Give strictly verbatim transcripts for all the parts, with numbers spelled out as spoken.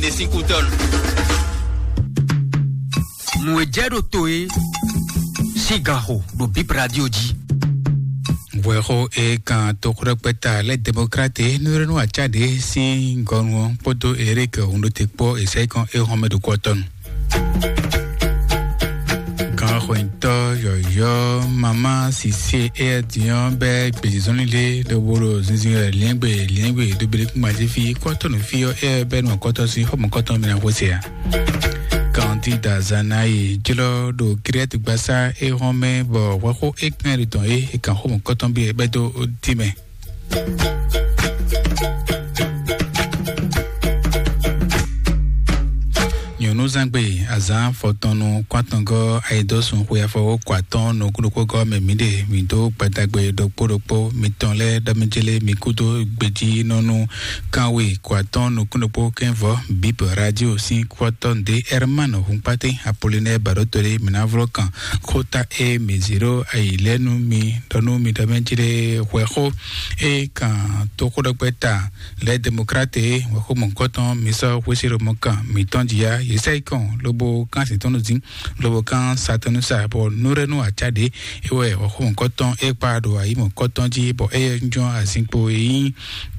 Ɖe sín kú tɔn. Nǔ e jɛ ɖo to é sín ganxo ɖo Bib Radio jí. Hwɛxó e kan toxóɖɔkpɛta lɛ́ Demokrate Nurenu Acáde sín gɔnu ɔ́ kpódó Erik Hundote kpó e sɛ́ kɔn é hɔn mɛ ɖo kɔtɔnu. Ganxɔnyitɔ́ yɔ̌yɔ́ Mama Sise éyɛ́ din ɔ́ bɛ́ gbězɔnlín ɖé ɖo bo ɖo zinzin wɛ liɛ́ngbe liɛ́ngbe ɖo Belékúngban jí fí kɔ́tɔ́nú fí ɔ́ éyɛ́ bɛ́ nɔ kɔ́tɔ́ sín xɔmɔkɔ́tɔn mɛ ná xwé se ǎ. Kandida Zanayi jlɔ́ ɖo Kiriati gbasá é hɔn mɛ bɔ hwɛxó é kɛn ɖo tɔn é é kan xɔmɔkɔ́tɔn bí bɛ́ dó tínmɛ. Nyɔ̌núzangbe azǎn fɔtɔnnu kwátɔngɔ́ ayidɔ́sun xwe afɔwó kɔ atɔ́ɔ́n nukúnnukpógɔ́ mɛ mǐ ɖe mǐ dó gbadagbe ɖokpó ɖokpó mitɔn lɛ́ɛ ɖɔ mɛ jélé mi kúdó gbejínɔ́nú kánwe kɔ atɔ́ɔ́n nukúnnukpó kɛ́nvɔ́ Bib Radio sín kwɔ́tɔ́ ɖě Herman Hunkpate Apollinaire Baɖótolé mǐ ná vlɔ́ kan xóta e mǐ zě ɖó ayi lɛ́ɛ nú mi ɖɔ nú mi ɖɔ mɛ jélé hwɛxó e kan toxóɖɔgbɛ́ta lɛ́ Demokrate wɛxómɔgɔ́tɔn mi sɔ́ xwésí ɖo mɔkan mǐtɔn jí yá yě sɛ yi kɔn lobo kán sǐntɔ́nnu dín lobo kán satɔ́nnu sa bɔ nǔɖénú acá ɖě é wɛ wɛxómɔgɔ́tɔn é kpa ɖo ayǐmɔgɔ́tɔn jí bɔ é yɛ jɔ́n azinkpo e nyí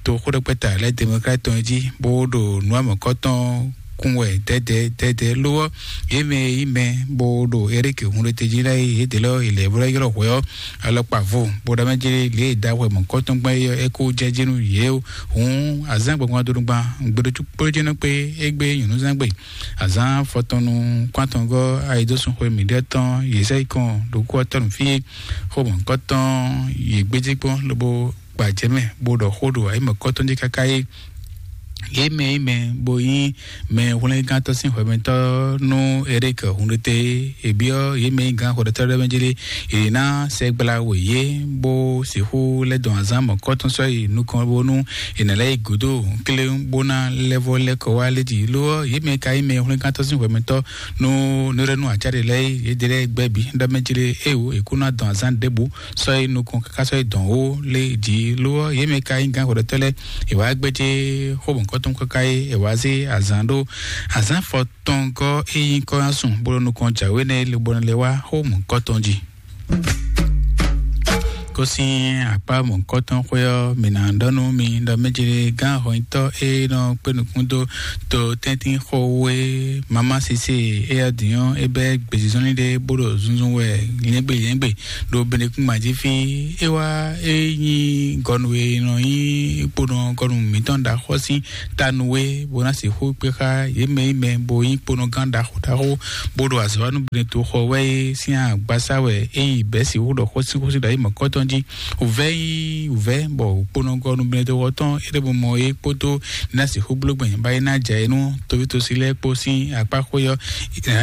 toxóɖɔgbɛ́ta lɛ́ Demokrate tɔn jí bó ɖo nǔwamɔgɔ́tɔn kún wɛ dɛdɛ dɛdɛ ló ɔ́ yě mɛ e nyí mɛ bó ɖo Erike hun ɖe tejí lɛ́ɛ yědɛɛ lɔ yě lɛ́ bó lɛ́ ylɔ́ hwɛ ɔ́ alɔkpa vo bó ɖɔ mɛ jɛ lě e da hwɛ mɔ̌kɔtɔn gbɔn é ɔ́ é kó jɛ jí nú yě hǔn azán gbɔngbɔn donu gban gbɛɖótú kpójénɔ kpé égbé nyɔ̌núzán gbe azán fɔtɔnnu kwátɔngɔ́ ayidósun xwe mǐɖɛtɔn yě sɛ yi kɔn ɖokú ɔ́ tɔnu fí é xó mɔ̌kɔtɔn yě gbéjé kpɔ́n lobo gbajɛmɛ bó ɖɔ xó ɖo ayǐmɔ̌kɔtɔn jí káká é yě mɛ yí mɛ bó nyí mɛ hwlɛ́ngántɔ́ sín hwɛmɛtɔ́ nú Erike Hunɖete. È byɔ́ yě mɛ nyí gǎn hwɛɖɔtɔ́ lɛ́ɛ mɛ jlé è ná sɛgbla we yě bó sixú lɛ́ dɔn azǎn mɔ̌kɔ́tɔn sɔ́ yi nukɔn bónú è nǎ lɛ́ yi gǔdo kléwún bó ná lɛ́ vɔ́ lɛ́ kɔ wá lé jí. Lo ɔ́, yě mɛ ka nyí mɛ hwlɛ́ngántɔ́ sín hwɛmɛtɔ́ nú nǔɖénú acáɖě lɛ́ɛ é, yě ɖe lɛ́ɛ gbɛ́ bǐ ɖɔ mɛ jlé é wǒ è kú ná dɔn azǎn ɖěbǔ sɔ́ yi nukɔn káká sɔ́ yi dɔn wó lé jí. Lo ɔ́, yě mɛ ka nyí gǎn hwɛɖɔtɔ́ lɛ́ɛ è wǎ gbéjé xó mɔ̌kɔ́tɔn káká é è wǎ zé azǎn ɖó azǎn fɔ tɔn gɔ́ é nyí kɔ́yánsun bó ɖo nukɔn jǎwe nɛ́ lobɔ lɛ́ wá xó mɔ̌kɔ́tɔn jí. Kó sín akpá mɔ̌kɔ́tɔn xwé ɔ́, mǐ ná ɖɔ nú mi ɖɔ mɛ jlé gán hɔnyitɔ́ e nɔ kpé nukún dó to tɛ́ntin xó wú é Mama Sise é yá din ɔ́, é bɛ́ gbězízɔ́nlin ɖé bó ɖo zunzun wɛ lyɛ́ngbé lyɛ́ngbé ɖo Benekúngban jí fí. É wá é nyí gɔnu e nɔ nyí kponɔ gɔnu mǐtɔn ɖaxɔ́ sín tanu é bó ná sixú kpé xá yě mɛ yi mɛ bó nyí kponɔgán ɖaxó ɖaxó bó ɖo azɔ̌ wa nú Benetoxɔ wɛ é sín agbasá wɛ é yi bɛ̌ sixú ɖɔ xósíxósí ɖo ayǐ mɔ̌kɔ́tɔn jí. Wǔvɛ́ nyí wǔvɛ́ bɔ kponɔgɔ́ nú Benetoxɔ tɔn é ɖo mɔ é kpódó ná sixú bló gbɛn bá é ná jɛ é nú tovítosi lɛ́ɛ kpó sín akpá xwé ɔ́,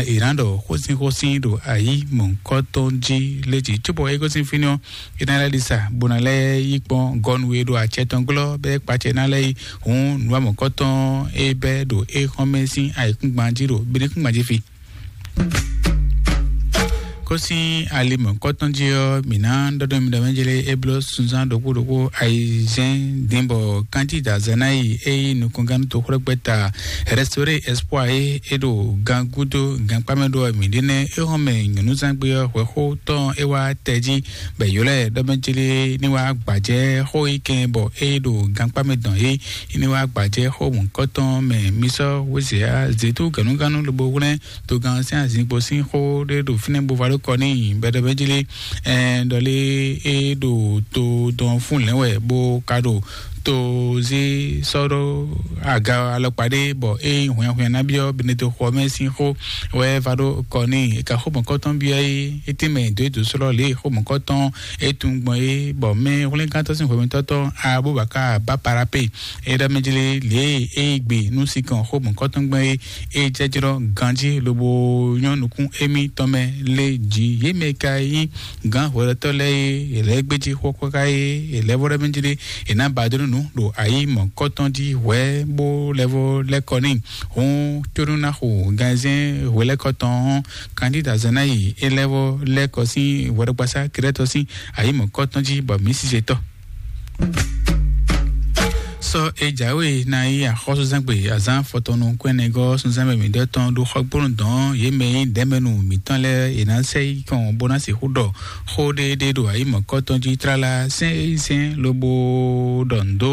è nǎ ɖɔ xósíxósí ɖo ayǐ mɔ̌kɔ́tɔn jí lé jí cóbɔ é gosín fínɛ́ ɔ́, é ná lɛ́ ɖi sa bó ná lɛ́ yí kpɔ́n gɔ́nu e ɖo acɛ tɔn glɔ́ bɛ́ kpacɛ ná lɛ́ yi hǔn nǔwamɔ̌kɔ́tɔn é bɛ́ ɖo é xɔ́n mɛ sín ayǐkúngban jí ɖo Benekúngban jí fi. Kó sín ali mɔ̌kɔ́tɔn jí ɔ́, mǐ ná ɖɔ́ ɖɔ mi ɖɔ mɛ jlé é bló sunzán ɖokpó ɖokpó ayizɛ́n dín bɔ kántída Zanayi é nyí nukɔngán toxwlɛ́gbɛ́ta Restauré Espoir é é ɖo gan gúdo gankpá mɛ ɖó ɔ́, mǐ ɖe nɛ́ é hɔn mɛ nyɔ̌núzangbe ɔ́ hwɛxó tɔn é wá tɛ jí bɔ è ylɔ́ ɛ ɖɔ mɛ jlé ní wá gbǎjɛ́ xó yi kɛn bɔ é ɖo gankpá mɛ dɔn é ní wá gbǎjɛ́ xó mɔ̌kɔ́tɔn mɛ mì sɔ́ wězěá zětú gǎnúgánú lobo hwlɛ́n togán sín azinkpo sín xó ɖé ɖo fínɛ́ bó va ɖó kɔ n'i bɛɖɛbɛ́ jlé. Ɛn ɖɔlé é ɖo to dɔn fún lɛ̌n wɛ bó ka ɖo to zé sɔ́ ɖó aga alɔkpa ɖé bɔ é nyí hwɛnhwɛn ná byɔ́ Benedexɔ mɛ sín xó wɛ va ɖó kɔ n'i. È ka xó mɔ̌kɔ́tɔn byɔ́ é, é tɛ́nmɛ dǒ é dǒ slɔ́ lě e xó mɔ̌kɔ́tɔn é tunwun gbɔn é, bɔ mɛ hwlɛ́ngántɔ́ sín hwɛmɛtɔ́tɔn Abubaka Baparape é ɖɔ mɛ jlé lě e é yi gbe nú sinkɔn xó mɔ̌kɔ́tɔn gbɔn é, é jɛjlɔ́ ganjí lobo nyɔ́ nukún émí tɔn mɛ lé jí. Yě mɛ ka nyí gǎn hwɛɖɔtɔ́ lɛ́ɛ é, è lɛ́ gbéjí xó káká é, è lɛ́ vɔ́ ɖɔ mɛ jlé è nǎ ba dó nú nǔ ɖo ayǐ mɔ̌kɔ́tɔn jí hwɛ̌ bó lɛ́ vɔ́ lɛ́ kɔ n'i. Hǔn tónú ná xo ganzɛ́n hwelɛ́kɔ tɔn ɔ́, Kandída Zanayi é lɛ́ vɔ́ lɛ́ kɔ sín hwɛɖɔgbasá Krɛ́tɔ sín ayǐmɔ̌kɔ́tɔn jí bɔ mǐ sisetɔ́. Sɔ e jǎwe ná yí axɔ́súzangbe azán fɔtɔnnu kɔn ɛnɛgɔ́ súnzánmɛ mǐdɛ́ tɔn ɖó xɔgbónu dɔn yě mɛ nyí dɛ̌mɛnu mǐtɔn lɛ́ɛ è nǎ sɛ yí kɔn bó ná sixú ɖɔ xó ɖéɖé ɖo ayǐ mɔ̌kɔtɔn jí tlala sɛ́n é nyí sɛ́n lobo ɖɔ nǔ dó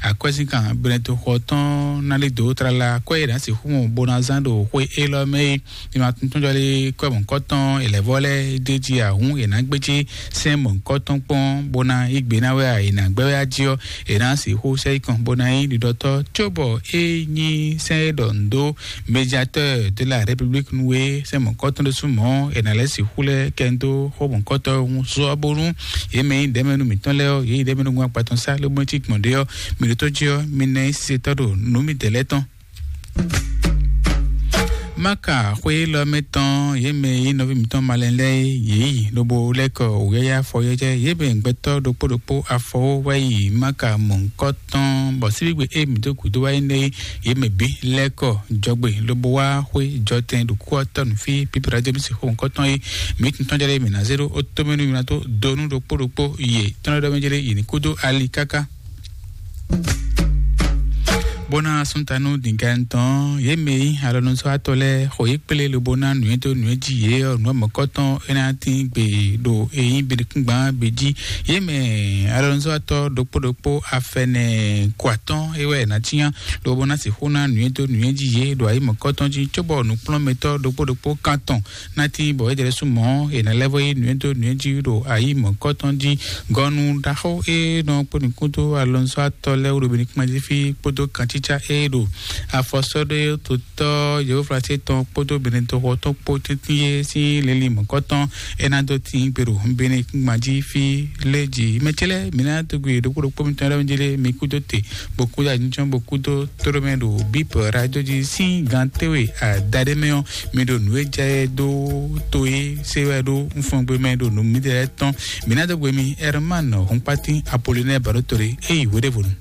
akwɛ́zínkan Benɛtoxɔ tɔn ná lí dǒ tlala akwɛ́ è nǎ sixú mɔ bó ná zán ɖo xwé élɔ́ mɛ é. Mi ma tuntunjɔ lé kɔ́ mɔ̌kɔtɔn è lɛ̌ vɔ lɛ́ɛ ɖ'é jí ahǔn è nǎ gbé jí sɛ́n mɔ̌kɔtɔn kpɔ́n bó ná yí gbe ná wɛ a è nǎ gbɛ́ wɛ á jí ɔ́, è nǎ sixú sɛ yí kɔn bó ná nyí ɖiɖɔtɔ́ cóbɔ é nyí sɛ́n e ɖɔ nǔ dó médiateur de la République nú é sɛ́n mɔ̌kɔtɔn ɖésú mɔ̌ è nǎ lɛ́ sixú lɛ́ kɛ dó xó mɔ̌kɔtɔn ŋu sɔ bónú yě mɛ nyí ɖɛ̌mɛnu mǐtɔn lɛ́ɛ ɔ́, yě nyí ɖɛ̌mɛnu gbɔn akpa tɔn sá lóbó cí gbɔn ɖé ɔ́, mi ɖótó jí ɔ́, mi ná nyí sisɛtɔ́ ɖo nǔ mitɛ́ lɛ́ɛ tɔn. Maka xwé élɔ́ mɛ tɔn yě mɛ yí nɔví mǐtɔn malɛ lɛ́ɛ yě yi lobo lɛ́ kɔ wǔyáyá afɔyɛ́jɛ yě mɛ gbɛtɔ́ ɖokpó ɖokpó afɔwó wá yi Maka mɔ̌hunkɔ tɔn bɔ síbígbe e mǐ dó gǔdo wá yi nɛ́ yě mɛ bǐ lɛ́ kɔ jɔgbe lobo wá xwé jɔtɛn ɖo kú ɔ́ tɔn fí pípíra jɛ mí sixú mɔ̌hunkɔ tɔn é mǐ tún tɔn jɛ ɖé mǐ ná zé ɖó ó tómɛnu mǐ ná tó donu ɖokpó ɖokpó yě tɔn ɖɔ́ mɛ jɛ ɖé yě ní kúdó ali káká. Bó ná súntanu dǐngán tɔn yě mɛ yí alɔnusɔ́watɔ́ lɛ́ɛ xɔ yě kplé lobo ná nǔnywɛ́ dó nǔnywɛ́ jí yě ɔ́ nǔ mɔ̌kɔtɔn é ná tín gbe ɖo eyín binukúngban bǐ jí. Yě mɛ alɔnusɔ́watɔ́ ɖokpó ɖokpó afɛnɛ kɔ atɔ́ɔ́n é wɛ è nǎ cyán lobo ná sixú ná nǔnywɛ́ dó nǔnywɛ́ jí yě ɖo ayǐ mɔ̌kɔtɔn jí cóbɔ nǔkplɔ́nmɛtɔ́ ɖokpó ɖokpó kántɔn ná tín bɔ é jɛ ɖésú mɔ̌ è nǎ lɛ́ vɔ yí nǔnywɛ́ dó nǔnywɛ́ jí ɖo ayǐ mɔ̌kɔtɔn jí. Gɔnu ɖaxó e nɔ kpó nukún dó alɔnzɔ́ atɔ́ lɛ́ɛ wú ɖo Benikúmɛdífí kpódó kancícá e ɖo afɔsɔ́ɖótotɔ́ Yehóflasi tɔn kpódó Benetoxɔ tɔn kpó tɛ́ntin e sín lili mɔ̌kɔtɔn é ná dó tín gbe ɖo Benikúmɛdífí lé jí. Mɛ ce lɛ́ɛ, mǐ ná dó gbe ɖokpó ɖokpó mitɔn lɛ́ɛ jí lé mi kúdó te, bó kúdó anyíjɔ́n, bó kúdó tóɖó mɛ ɖo bíp radio jí sín gan téwe adaɖé mɛ ɔ́, mi ɖo nǔ e jɛ dó to e se wɛ ɖó nfɔngbe mɛ ɖo nǔ mi ɖe tɔn. Mi ná dó gbe mi Herman Hunkpatin Apollinaire Barotore e yi hweɖěvonu.